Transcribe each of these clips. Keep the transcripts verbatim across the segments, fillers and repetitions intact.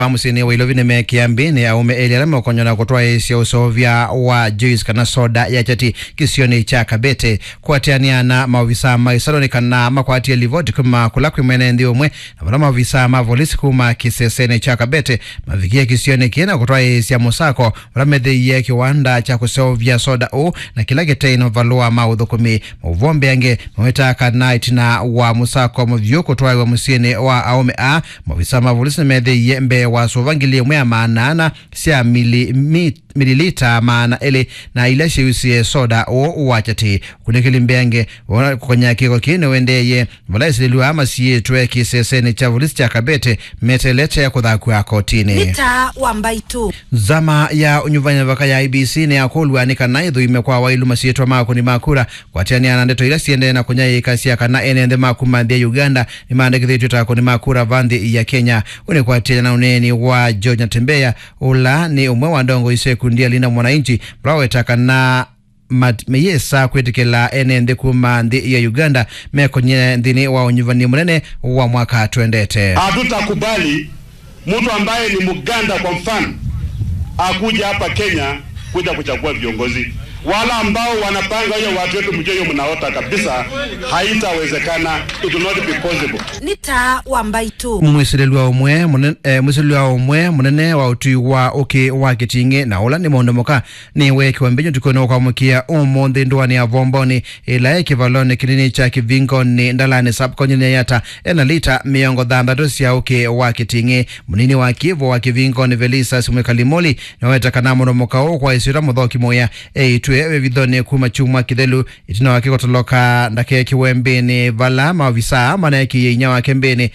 ma mũsyĩnĩ wa Ilovi nĩmeekĩa mbĩnĩ aũme elĩ ala mekonywa na kũtwaĩĩsya ũseũvya wa juice kana soda ya kyati kĩsionĩ kya Kabete. Kũatĩanĩa na maovisaa ma ĩsalũ nĩ kana makwatie livoti kuma kũla kwĩ mwene nthĩ ũmwe na vala maovisaa ma volisi kuma kĩsesenĩ kya Kabete mavikie kĩsionĩ kĩĩ na kũtwaĩĩsya mũsako vala methĩie kĩwanda kya kũseũvya soda ũũ na kĩla kĩteĩ na mavalũa ma ũthũkũmi. Maũvoo mbeange mawetaa kana ĩtina wa mũsako mũvyũ kũtwaĩwa mũsyĩnĩ wa aũme aa, maovisaa ma volisi nĩmethĩie mbee wa sũva ngili ĩmwe ya maana ana sya mili-, mi-, mililita maana elĩ na ila syĩusie soda ũũ wa kyatĩ. Ũkunĩkĩli mbeange wa kũkonya kĩko kĩĩ nĩũendeeie, vala esilĩlw'a masiĩtwe kĩsesenĩ kya volisi kya Kabete meteelete kũthakw'a kotinĩ. Nĩ taa wa mbaitũ. Nzama ya ũnyuvani mĩvaka ya I E B C nĩyakũlw'a nĩ kana ĩthũime kwa wailu masyĩtwa ma akũni ma kura kũatĩanĩa na ndeto ila siendee na kũnyaĩĩkasya kana ene nthĩ ma kuma nthĩ ya Uganda nĩmaandĩkĩthĩtw'e ta akũni ma kura va nthĩ ya Kenya. Ũũ nĩ kũatĩanĩa na ũneeni wa George Natembeya, ũla nĩ ũmwe wa ndongoi sya ikundi ya Linda Mwananchi, vala waweta kana mat-, meyĩsa kwĩtĩkĩla ene nthĩ kuma nthĩ ya Uganda mekonye nthĩnĩ wa ũnyuvani mũnene wa mwaka twendete. Hatutakubali mtu ambaye ni Mganda, kwa mfano, akuja hapa Kenya kuja kuchagua viongozi. Wala ambao wanapanga hiyo, watu wetu, mjue hiyo mnaota kabisa, haitawezekana. It will not be possible. Nĩ taa wa mbaitũ. Mwĩsilĩlw'a ũmwe mũne-, eh, mwĩsilĩlw'a ũmwe mũnene wa ũtwi wa ũkĩ wa Kĩting'ĩ na ũla nĩ Mũndũ Mũka nĩweekiwa mbĩnĩ ũtukũnĩ wa kwamũkĩa ũmũnthĩ ndũanĩ ya Vomboni ĩla ĩ kĩvalonĩ kĩnini kya Kĩvingoni Ndalani sub-county ya Yatta ena lita mĩongo thanthatũ sya ũkĩ wa Kĩting'ĩ. Mũnini wa kĩvo wa Kĩvingoni Velisas Mwĩkali Moli nĩwaweta kana Mũndũ Mũka ũũ kwa ĩsyĩtwa Mũthoki Mũya eĩtwe vevithonĩ kuma kyumwa kĩthelu ĩtina wake kũtoloka ndakekĩwe mbĩnĩ vala maovisaa maneekĩie inyia wake mbĩnĩ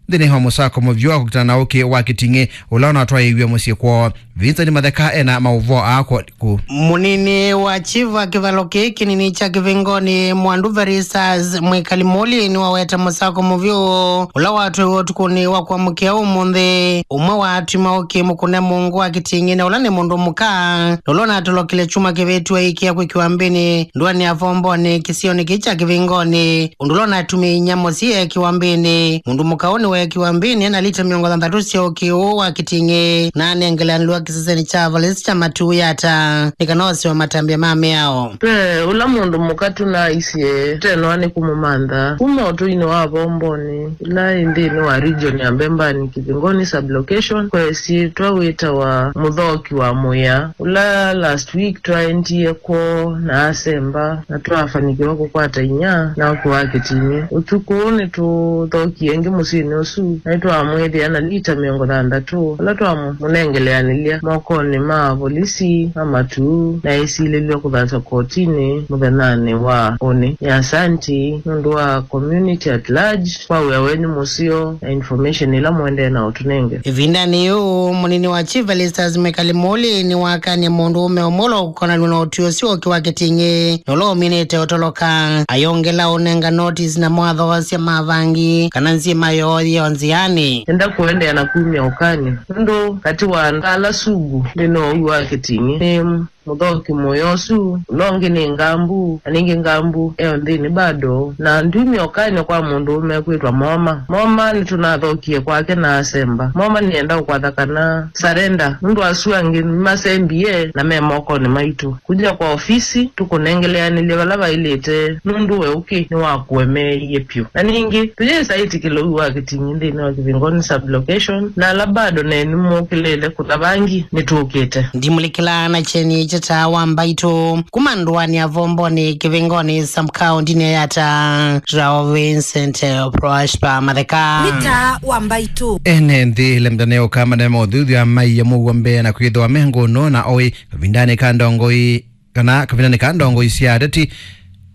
nthĩnĩ wa mũsako mũvyũ wa kũkitana na ũkĩ wa Kĩting'ĩ ũla ũnatwaĩiw'e mũsyĩ kwoo. Vincent Matheka ena maũvoo aa kũ. Mũnini wa chief wa kĩvalo kĩĩ kĩnini kya Kĩvingoni Mwandu Verisas Mwĩkali Moli nĩwaweta mũsako mũvyũ ũla watwaiwe ũtukũnĩ wa kwamũkĩa ũmũnthĩ. Ũmwe wa atwi ma ũkĩ mũkũne mũngũ wa Kĩting'ĩ na ũla nĩ Mũndũ Mũka na ũla ũnatolokile kyumwa kĩvĩtu aikĩa kwĩkĩwa mbĩnĩ ndũanĩ ya Vomboni kĩsionĩ kĩĩ kya Kĩvingoni. Ũndũ ũla ũnatumie inyia mũsyĩ eekĩwa mbĩnĩ. Mũndũ mũka ũũ nĩweekĩwa mbĩnĩ ena lita mĩongo thanthatũ sya ũkĩ ũũ wa Kĩting'ĩ na anengeleanĩlwa kĩsesenĩ kya volisi kya Matuu Yatta nĩ kana osewe matambya ma mĩao. Ve ũla mũndũ mũka tũnaisye tũtenoa nĩ kũmũmantha kuma ũtũinĩ wa Vomboni ĩla ĩ nthĩnĩ wa region ya Mbembani, Kĩvingoni sub-location, kwa ĩsyĩtwa wĩtawa Mũthoki wa Mũya, ũla last week twaendie kwoo na asemba na twafanikiwa kũkwata inyia na ũkĩ wa Kĩting'ĩ. Ũtukũ ũũ nĩtũthokie ĩngĩ mũsyĩnĩ ũsu na nĩtwamwĩthĩa na lita mĩongo thanthatũ, ũla twamũnengeleanĩlya mokonĩ ma volisi ma Matuu na esilĩlw'a kũthatw'a kotinĩ mũthenyanĩ wa ũnĩ. Nĩ asanti nũndũ wa community at large kwa wĩa wenyu mũseo na information ĩla mũendee na ũtũnenge. Ĩvindanĩ yĩu, mũnini wa Chief Velistas Mwĩkali Moli nĩwakanie mũndũũme ũmwe ũla ũkonanw'a na ũtwi ũsu ũkĩ wa Kĩting'ĩ na ũla ũminĩte ũtoloka. Ayongela ũnenga notice na mawatho sya mavangi kana nzima yoo yĩo nzĩanĩ. Enda kũendeea na kumya ũkany'o nũndũ katĩ wa andũ ala sugu nthĩnĩ wa ũw'i wa Kĩting'ĩ nĩ Mũthoki Mũya ũsu, ũla ũngĩ nĩ Ngambu, na ningĩ Ngambu e o nthĩnĩ bado. Na ndwimya ũkany'o kwa mũndũũme kwĩtwa Moma. Moma nĩtũnathokie kwake na asemba. Moma nĩenda ũkwatha kana surrender, nũndũ asu angĩ nĩmasembie na me mokonĩ maitũ. Kuja kwa ofisi, tũkũnengeleanĩlye vala vaĩlĩte, nũndũ we ũkĩ nĩwakũemeeie vyũ. Na ningĩ, tũyĩsa ĩtĩkĩla ũw'i wa Kĩting'ĩ nthĩnĩ wa Kĩvingoni sub-location, na ala bado nenyu mũkĩlĩle kũtha vangi, nĩtũkĩte. Ndimũlikĩla na kyeni kya taa wa mbaitũ kuma ndũanĩ ya Vomboni Kĩvingoni sub-county-nĩ ya Yatta, Rao Vincent Prosper Matheka. Nĩ taa wa mbaitũ. Ene nthĩ ĩla mĩtane ũkamba na maũthuthya maiya mũuo mbee na kwĩthĩwa me ngũnũ na oĩ kavindanĩ ka ndongoi kana kavindanĩ ka ndongoi sya ateti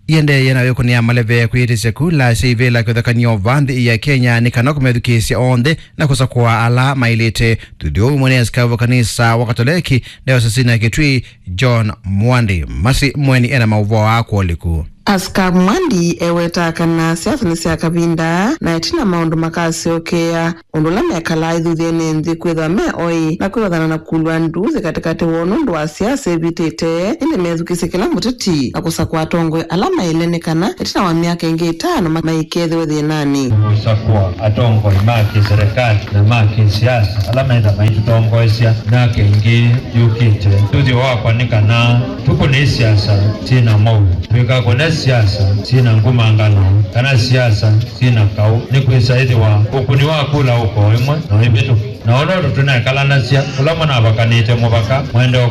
iendeeye na wĩkũnĩa maleve kwĩyĩtĩsya kula sya ivĩla kĩvathũkany'o va nthĩ ya Kenya nĩ kana kũmethukĩĩsya onthe na kũsakũa ala maĩlĩte. Thuthi ũu mwene askavu wa kanisa wa Katoleki ndayosisi ya Kitui John Mwandi Masi Mweni ena maũvoo aa kwoliku. Askovu Mwandi ewetaa kana siasa nĩ sya kavinda, na ĩtina maũndũ makasyokea, ũndũ ũla mekalaa ĩthuthyanĩ nthĩ kwĩthwa me oĩ na kwĩvathana na kũlwa nduthi katĩkatĩ woo nũndũ wa siasa ivĩtĩte, ĩndĩ methukĩĩsye kĩla mũteti na kũsakũa atongoi ala maĩle, nĩ kana ĩtina wa myaka ĩngĩ ĩtano ma-, maikethĩwe thĩnanĩ. Kũsakũa atongoi ma kĩserikali na ma kĩsiasa ala metha maitũtongoesya myaka ĩngĩ yũkĩte. Ũthuthyo wakwa nĩ kana tũkũne siasa syĩna mowau, tũikakũne siasa syĩna ngumangano kana siasa syĩna kaũ, nĩkwĩsa ĩthĩwa ũkũni wa kula ũko ĩmwe no ĩvĩtũke. Na ũla ũndũ tũneekalanasya, ũla mũnavakanĩte mũvaka, mwende